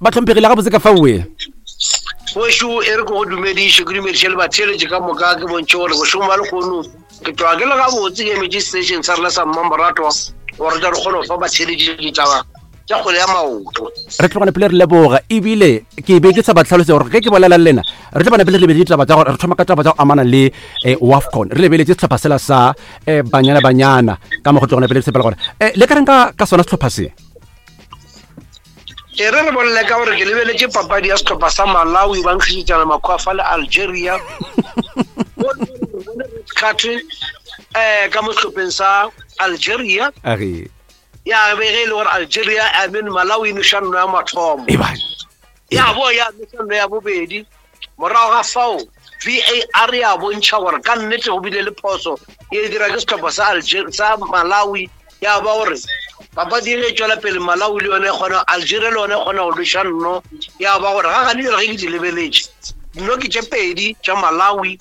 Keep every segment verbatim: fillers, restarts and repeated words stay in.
Bahlomphegi, le gabotse ka faoe? Wešo, e re ke go dumediše, ke dumediše le batheeletši ka moka, ke bontšhe gore bošego ba lehono ke tloga ke le gabotse, ke emetše station sa rena sa Mmamoratwa gore tle re kgone go fa batheeletši ditaba tša kgwele ya maoto. Re tlogane pele re leboga, ebile ke be ke sa ba tlhalose gore ge ke bolela le lena re tlo bana pele re lebeletse ditaba tša gore re thoma ka taba tša go amana le eh, WAFCON. Re lebeletse sehlopha sela sa eh, Banyana Banyana ka mo go tlogana pele sepela gore eh, le ka reng ka ka sona sehlopha se? E re re bolele ka gore ke lebeletše papadi ya sehlopha sa Malawi ba nkgišetšana makgwafa le Algeria card eh ka mo sehlopheng sa Algeria. Age. Ya be ge e le gore Algeria, I mean Malawi, e noša nno ya mathomo, ebane ya bo ya noša nno ya bobedi. Morago ga fao V A R ya bontšha gore ka nnete go bile le phoso e dira ke sehlopha sa Algeria, sa Malawi. Ya ba gore papadi e ge e tšwela pele, Malawi le yone e kgona, Algeria le yone e kgona go lweša nno. Ya ba gore ga gane jale ge ke di lebeletše, nno ke tše pedi tša Malawi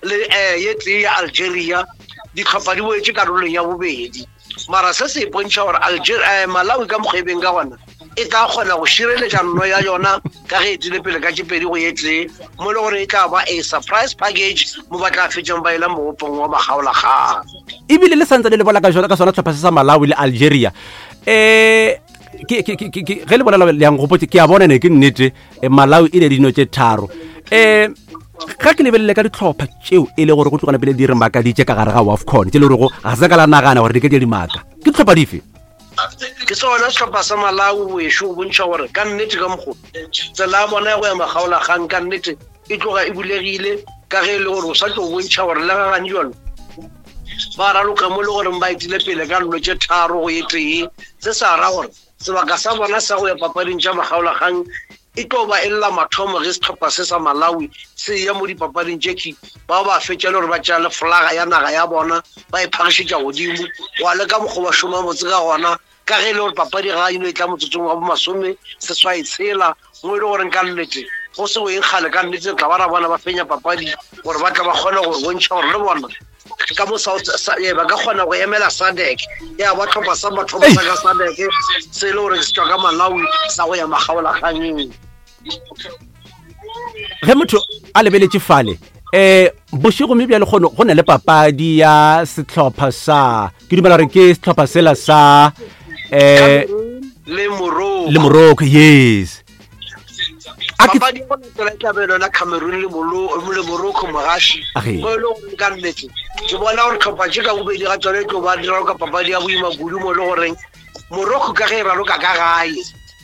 le um ye tee ya Algeria. Ditlhopha di boetše karolong ya bobedi, mara se se ipontšha gore Algeria, eh, Malawi ka mokgwebeng ka gona e tla kgona go šireletša nno ya yona ka ge e tswile pele ka tše pedi go ye tee, mo e le gore e tla ba a surprise package mo ba tla fetšang ba ela mogopong wa makgaolakgang. Ebile le santse le le bola ka jona ka sona sehlopha se sa Malawi le Algeria, um ke ke ke ke ge le bolela le yang gopotse, ke a bona ne ke nnete, eh, Malawi e ne dino tše tharo. um ga ke lebelele ka ditlhopha tšeo e le gore go tlogana pele di re makaditše ka gare ga WAFCON, tše le gorego ga se ka la nagana gore di ka di dimaka, ke ditlhopha dife? Ke sona sehlopha sa Malawi wešo, go bontšha gore ka nnete ka mokgo tsela ya bona ya go ya makgaolakgang ka nnete e tloga e bulegile, ka ge e le gore o sa tlo bontšha gore le gagane jalo ba raloka mo le gore ba etile pele ka nno tše tharo go ye tee. Se sa ra gore sebaka sa bona sa go ya papading tša makgaolakgang e tlo ba e lla mathomo ge sehlopha se sa Malawi se ya mo dipapading tše ki ba ba fetša le gore ba tšea le folaga ya naga ya bona ba e phagišetša godimo go a le ka mokgwa ba šoma botse ka gona, ka ge e le gore papadi ga eno e tla motsotsong wa bomasome seswai tshela, mo e le gore ka nnete go se go eng kgale ka nnete tla ba ra bona ba fenya papadi gore ba tla ba kgone go bontšha gore le bona ka mo South ba ka kgona go emela SADC, ya ba tlhopha sa mathomo sa ka SADC se e le gore se tšwa ka Malawi sa go ya makgaolakganyeng. Ge motho a lebeletše fale um bošego mme bjale kgono go na le papadi ya sehlopha sa, ke dumela gore ke sehlopha sela sa um le Morocco. Le Morocco, yes. A ke- Papadi ya go latela e tla be yona Cameroon le Molo- le Morocco, mogaši, Age. mo e le gore ka nnete ke bona gore tlhopha tše ka bobedi ga tsone e tlo ba di raloka papadi ya boima kudu, mo e le goreng Morocco ka ge e raloka ka gae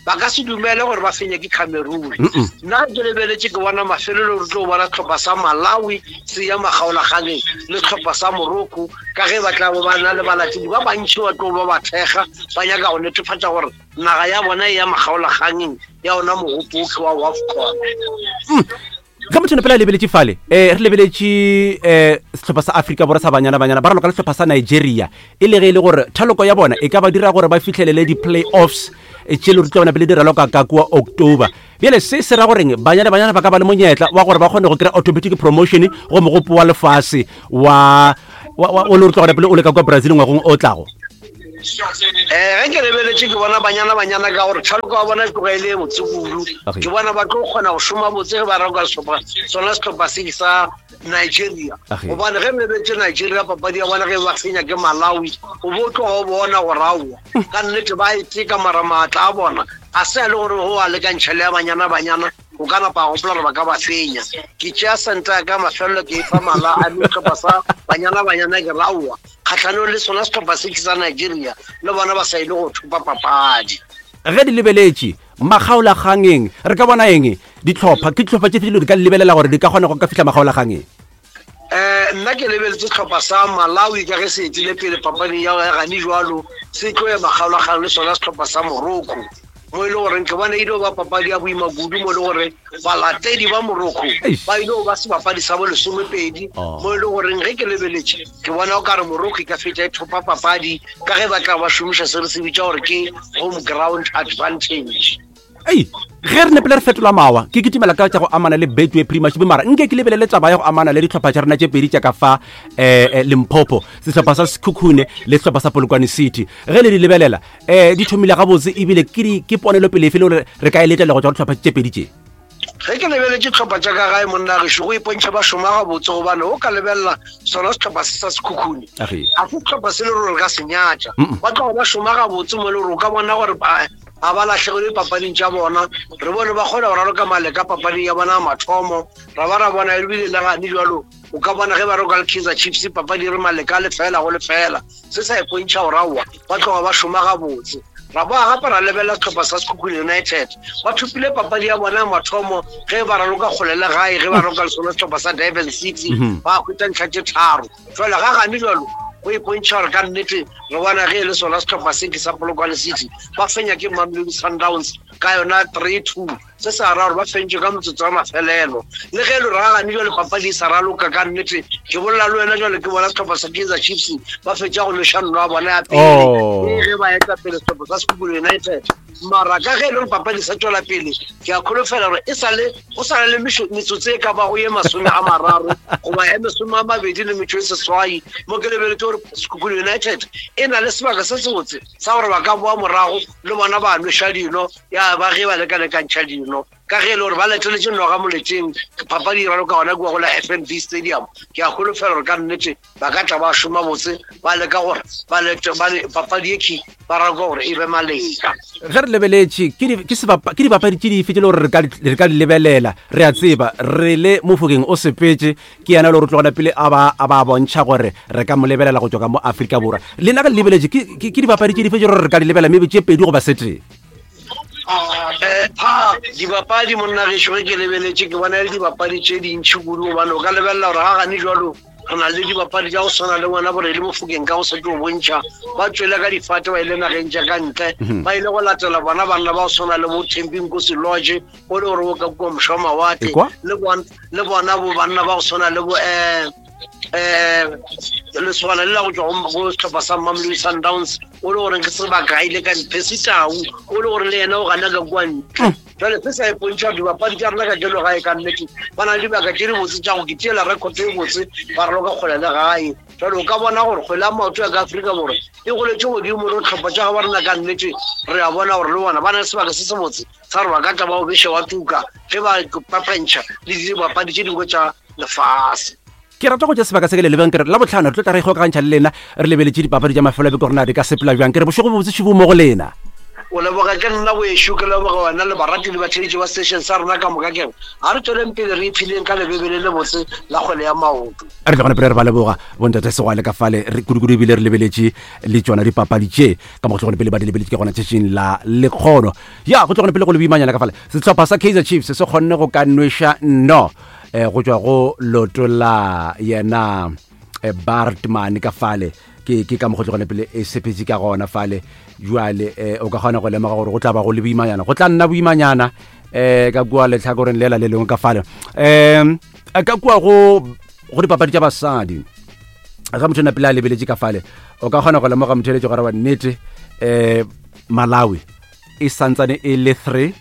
ba ka se dumele gore ba fenye ke Cameroon. Mm-mm. Nna ke lebeletše ke bona mafelelo re tlo bona tlhopha sa Malawi se ya makgaolakganeng le tlhopha sa Morocco, ka ge ba tla bo ba na le balatedi ba bantši ba tlo ba ba thekga, ba nyaka go netefatša gore naga ya bona e ya makgaolakgangeng ya ona mogopo wa WAFCON. Ge motho pele a lebeletše fale, um re lebeletše um sehlopha sa Afrika Borwa sa Banyana Banyana ba raloka le sehlopha sa Nigeria, e le ge e le gore thaloko ya bona e ka ba dira gore ba fitlhelele di-play-offs eh, tše le re tla bona pele di raloka ka kua October. Bjale se se ra goreng Banyana Banyana ba ka ba le monyetla wa gore ba kgone go kry-a automatic promotion go mogopo wa lefase wa wa- wa- o le re tla gona pele o le ka kua Brazil ngwagong o tlago? um ge ke lebeletše ke bona Banyana Banyana ka gore tšhaloko wa bona e tloga e le e botse kudu. Okay. Ke bona ba tlo kgona go šoma botse ge ba raloka sehlopha sona sehlopha se sa Nigeria, Okay. gobane ge re lebetse Nigeria papadi ya bona ge ba fenya ke Malawi, o bo tloga o bona gore aowa ka nnete ba e teka, mara maatla a bona a se a le gore go a lekantšha le ya Banyana Banyana o ka napa gopola gore ba ka ba fenya. Ke tšea senta ya ka mafelelo ke e fa mala a le sehlopha sa Banyana Banyana, ke raowa kgatlhanong le sona sehlopha se ke sa Nigeria, le bona ba sa ile go thopa papadi. Ge di lebeletše makgaolakgangeng re ka bona eng? Ditlhopha ke ditlhopha tše fedile di ka lebelela gore di ka kgona go ka fihla makgaolakgangeng? um nna ke lebeletse sehlopha sa Malawi ka ge se etile pele papading ya ya gane jwalo, se tlo ya makgaolakgang le sona sehlopha sa Morocco, mo e le goreng ke bona e ile ba papadi ya boima kudu, mo e le gore balatedi ba Morocco Eish. ba ile go ba sebapadi sa bo lesomepedi, Oh. mo e le goreng ge ke lebeletše ke bona o ka re Morocco e ka fetša e thopa papadi ka ge ba tla ba šomiša se re se bitša gore ke home ground advantage. Ei, ge re nepele re fetola mawa, ke kitimela ka tša go amana le Betway Premiership, mara nke ke lebelele taba ya go amana le dihlopha tša rena tše pedi tša ka fa um Limpopo, sehlopha sa Sekhukhune le sehlopha sa Polokwane City. Ge le di lebelela, um di thomile gabotse, ebile ke ponelopele efe le gore re ka e letela go tšwa go dihlopha tše pedi tše? Ge ke lebeletše tlhopha tša ka gae, monna gešo, go ipontšha ba šoma gabotse, gobane o ka lebelela sona setlhopha se sa Sekhukhune, ga se setlhopha se le gore re ka se nyatša. Ba tloga ba šoma gabotse mo le gore o ka bona gore ga ba lahlegelwe papading tša bona. Re bone ba kgona go raloka maleka papading ya bona ya mathomo, ra ba ra bona ebile le gane jalo o ka bona ge ba roka le Kaizer Chiefs papadi re maleka lefela go lefela. Se sa ipontšha gore aowa, ba tloga ba šoma gabotse. Ra boa gape ra lebelela setlhopha sa Sekhukhune United, ba thopile papadi ya bona ya mathomo ge ba raloka kgole le gae, ge ba raloka le sona setlhopha sa Durban City, ba hwetša ntlha tše tharo. Jwale ga gane jalo go ipontšha gore ka nnete re bona ge e le sona setlhopha se ke sa Polokwane City, ba fenya ke Mamelodi Sundowns ka yona three two. Se sa ra gore ba fentše ka motsotso wa mafelelo. Le ge e le gore ga gane jale papadi e sa raloka, ka nnete ke bolela le wena jale ke bona setlhopha sa Kaizer Chiefs ba fetša go noša nno ya bona ya pele ge ba eta pele setlhopha sa Sekhukhune United. Mara ka ge e le gore papadi sa tswela pele, ke a kholofela gore e sale go sa le metsotso e ka bago ye masome a mararo goba ya masome a mabedi le metso e seswai, mo ke lebeletse gore Sekhukhune United e na le sebaka se sebotse sa gore ba ka boa morago le bona ba nweša dino ya ba ge ba lekalekantšha dino, ka ge e le gore ba leteletše noga moleteng. Papadi e raloka gona kua go la F N B Stadium. Ke a kholofela gore ka nnete ba ka tla ba šoma botse, ba leka gore papadi e key ba raloka gore e be maleka. Ge re lebeletše, ke dipapadi tše dife tše le gore re ka di lebelela? Re a tseba re le Mofokeng o sepetse, ke yena le gore tlogela pele a ba a ba bontšha gore re ka mo lebelela go tšwa ka mo Afrika Borwa. Lena ge le lebeletše, ke dipapadi tše dife tše gore re ka di lebelela, maybe tše pedi goba setee? um dibapadi monna gešo, ge ke lebeletše ke bona le dibapadi tše dintšhi kudu, gobane o ka lebelela gore ga gane jalo re na le dibapadi tša go tshwana le ngwana borele Mofokeng, ka go sa tlo bontšha ba tswele ka difate, ba ile nageng tša ka ntle, ba ile go latela bona banna ba go tshwana le bo Thembinkosi Lorch, o le gore o ka kua mošwa mawatle, le bona bo banna ba go tshwana le bo um um lesogana le la go tswa go setlhopha sa Mamelodi Sundowns, o le goreng ke sebaka a ile ka Percy Tau, o le gore le yena o gana ka kua ntle. Jale se sa ipontšha gore dibapadi tša rena ka jalo gae ka nnete ba na le dibaka tše dibotse tša go ke tšeela record e botse ba raloka kgole le gae. Jale o ka bona gore kgwele ya maoto ya ka Afrika Borwa e goletše godimo, le tlhopha tša ga ba rena ka nnete re a bona gore le bona ba na le sebaka se se botse sa gore ba ka tla ba o beše wa tuka ge ba papantšha le dibapadi tše dingwe tša lefase. Ke rata go tša sebaka se ke le lebeng, ke re la botlhano re tlo tla re ikgokagantšha le lena, re lebeletše dipapadi tša mafelo a beke gore na di ka sepela bjang. Ke re bošego bobotse, šibo mo go lena. O leboga ke nna boešo, ke leboga wena le barati le batheletši ba station sa rena ka moka. Kere ga re tsweleng pele re iphileng ka lebebele le botse la kgwele ya maoto. Re tla gona pele re ba leboga bontate Segwale ka fale re kudu-kudu, ebile re lebeletše le tsona dipapadi tše ka mo go tlogone pele ba di lebeletše ke gona tšatšing la lekgono ya go tlogone pele go le boimanyana ka fale. Sehlopha sa Kaizer Chiefs se kgonne go ka nweša no um go tšwa go loto la yena eh, Bartman ka fale. ke ke ka mo go tlogone pele e sepetse ka gona fale. Jwale eh, o ka kgona go lemoga gore go tla ba go le boimanyana, go tla nna boimanyana um ka kua letlhakoreng lela le lengwe ka fale. Um ka kua go go dipapadi tša basadi, ga motho na pele a lebeletše ka fale, o ka kgona go lemoga motho eletše gore wa nnete um Malawi e santsane e le three,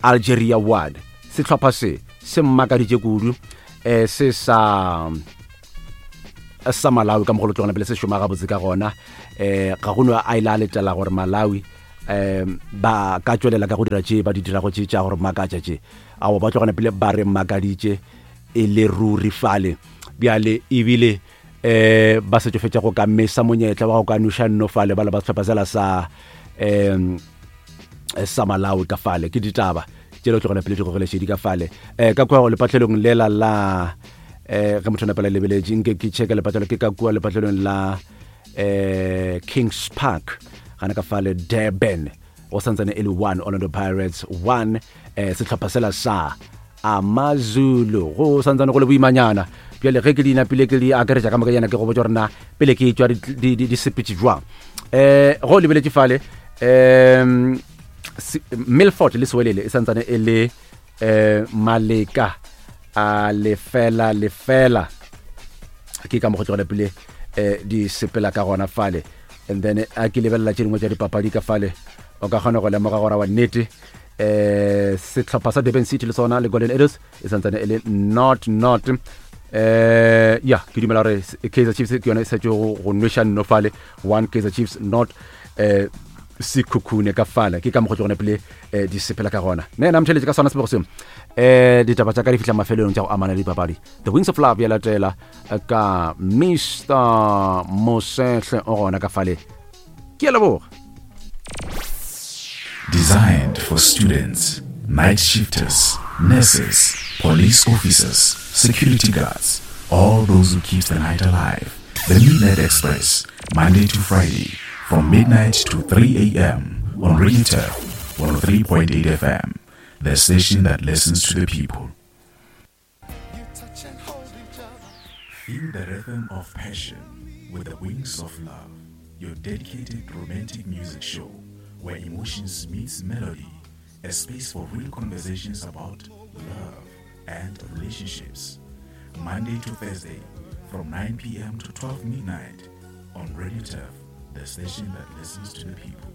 Algeria one. Sehlopha se se mmakaditše kudu um se sa sa Malawi, ka mogolo tlogona pele se šoma gabotse ka gona. um ga go no a ile a letela gore Malawi um ba ka tswelela ka go dira tše ba di dirago tše tša gore makatša tše ao ba tlogana pele ba re makaditše e le ruri fale. Bjale ebile um ba setšo fetša go ka mesa monyetla wa go ka noša nno fale ba le ba sehlopha sela sa um sa Malawi ka fale. Ke ditaba tše le tlogela pele di gogelešedi ka fale. um ka kua lepatlelong lela la um ge motho napela lebeletše, nke ke checka lepatlelo, ke ka kua lepatlelong la um Kings Park gana ka fale Durban, go santsane e le one, Orlando Pirates one, um sehlopha sela sa Amazulu. Go santsane go le boimanyana. Bjale ge ke di napile ke di akaretša ka moka yana, ke go botsa gore na pele ke tswa di sepetse jwang. um go lebeletše fale, um Milford le Sewelele e santsane e le um maleka a lefela lefela. Ke ka mo go tlogela pele um di sepela ka gona fale. And then a ke lebelela tše dingwe tša dipapadi ka fale, o ka kgona go lemoga gore wa nnete Eh sehlopha sa Durban City le sona le Golden Arrows e santsane e le not not. Eh ya ke dumela gore Kaizer Chiefs ke yone e setse go go nweša nno fale one Kaizer Chiefs not eh Sekhukhune ka fale ke ka mokgwa gone pele eh, di sepela ka gona ne nna mtheletše ka sona sebego seo eh ditaba tša ka di fihla mafelelong tša go amana le dipapadi. The Wings of Love ya latela eh, ka Mister Mosehle o gona ka fale. Ke a leboga. Designed for students, night shifters, nurses, police officers, security guards, all those who keep the night alive. The Midnight Express, Monday to Friday, from midnight to three a.m. on Radio Turf, one oh three point eight F M, the station that listens to the people. Feel the rhythm of passion with the Wings of Love, your dedicated romantic music show where emotions meets melody, a space for real conversations about love and relationships. Monday to Thursday from nine p.m. to twelve midnight on Radio Turf, the station that listens to the people.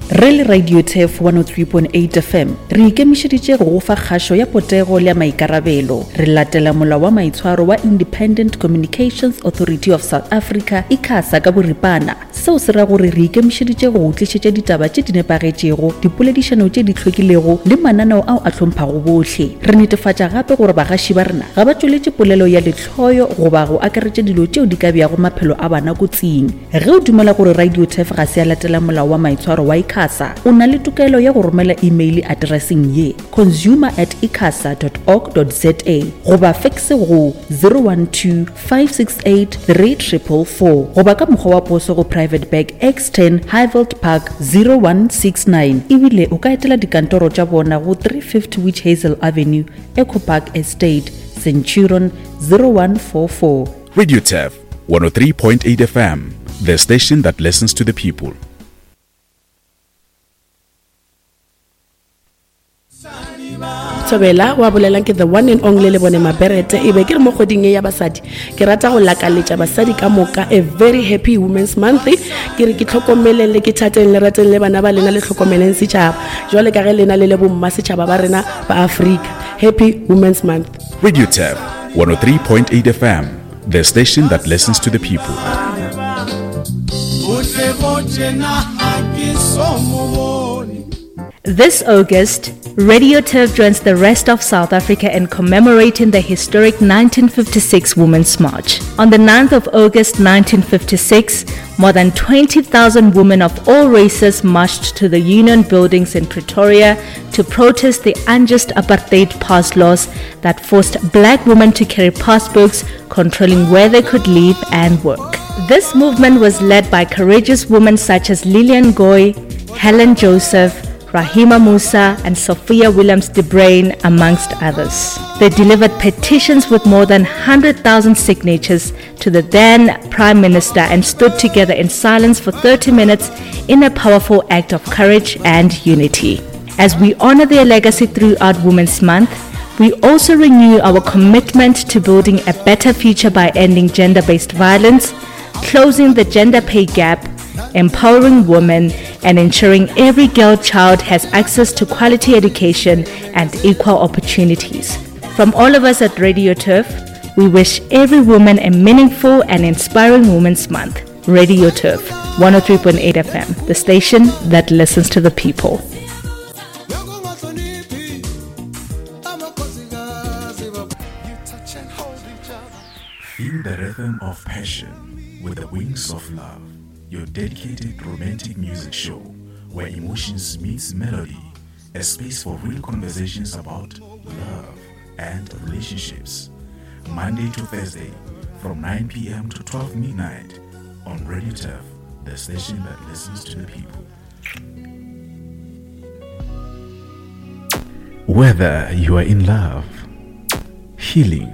Re le Radio Turf one oh three point eight F M re ikemišeditše go go fa kgašo ya potego le ya maikarabelo. Re latela molao wa maitshwaro wa Independent Communications Authority of South Africa ICASA ka boripana. Seo se ra gore re ikemišeditše go go tlišetša ditaba tše di nepagetšego, dipoledišano tše di hlwekilego le mananeo ao a hlomphago bohle. Re netefatša gape gore bagaši ba rena ga ba tšweletše polelo ya lehloyo goba go akaretša dilo tšeo di ka beago maphelo a bana kotsing. Ge o dumela gore Radio Turf ga se ya latela molao wa maitshwaro wa ICASA, o na le tokelo ya go romela email addresseng ye consumer at icasa dot org dot za goba fax go zero one two five six eight three triple four goba ka mokgwa wa poso go Private Bag X ten Highveld Park zero one six nine. Ebile o ka etela dikantoro tša bona go three fifty Witch Hazel Avenue, Echo Park Estate, Centurion zero one four four. Radio Turf one oh three point eight F M, the station that listens to the people. Thobela wa bolelang ke the one and only le bone Maberete e be ke re mo kgweding e ya basadi ke rata go lakaletša basadi ka moka a very happy Women's Month. Ke re ke tlhokomeleng le ke thateng le rateng le bana ba lena le tlhokomeleng setšhaba jwale ka ge lena le le bomma setšhaba ba rena ba Afrika. Happy Women's Month. Radio Turf one oh three point eight F M, the station that listens to the people. This August, Radio Turf joins the rest of South Africa in commemorating the historic nineteen fifty-six Women's March. On the ninth of August nineteen fifty-six, more than twenty thousand women of all races marched to the Union Buildings in Pretoria to protest the unjust apartheid pass laws that forced black women to carry passbooks controlling where they could live and work. This movement was led by courageous women such as Lillian Goy, Helen Joseph, Rahima Moosa and Sophia Williams de Bruyn, amongst others. They delivered petitions with more than one hundred thousand signatures to the then Prime Minister and stood together in silence for thirty minutes in a powerful act of courage and unity. As we honor their legacy throughout Women's Month, we also renew our commitment to building a better future by ending gender-based violence, closing the gender pay gap, empowering women, and ensuring every girl child has access to quality education and equal opportunities. From all of us at Radio Turf, we wish every woman a meaningful and inspiring Women's Month. Radio Turf, one oh three point eight F M, the station that listens to the people. Feel the rhythm of passion with the Wings of Love, your dedicated romantic music show where emotions meets melody, a space for real conversations about love and relationships. Monday to Thursday from nine p.m. to twelve midnight on Radio Turf, the station that listens to the people. Whether you are in love, healing,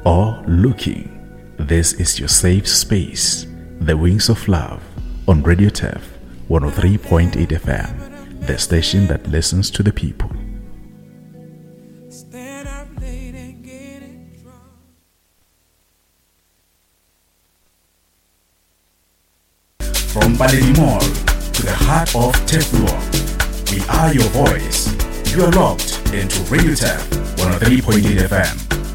or looking, this is your safe space. The Wings of Love on Radio Turf one oh three point eight F M, the station that listens to the people. From Paledi Mall to the heart of Turfloop, We are your voice. You are locked into Radio Turf one oh three point eight F M.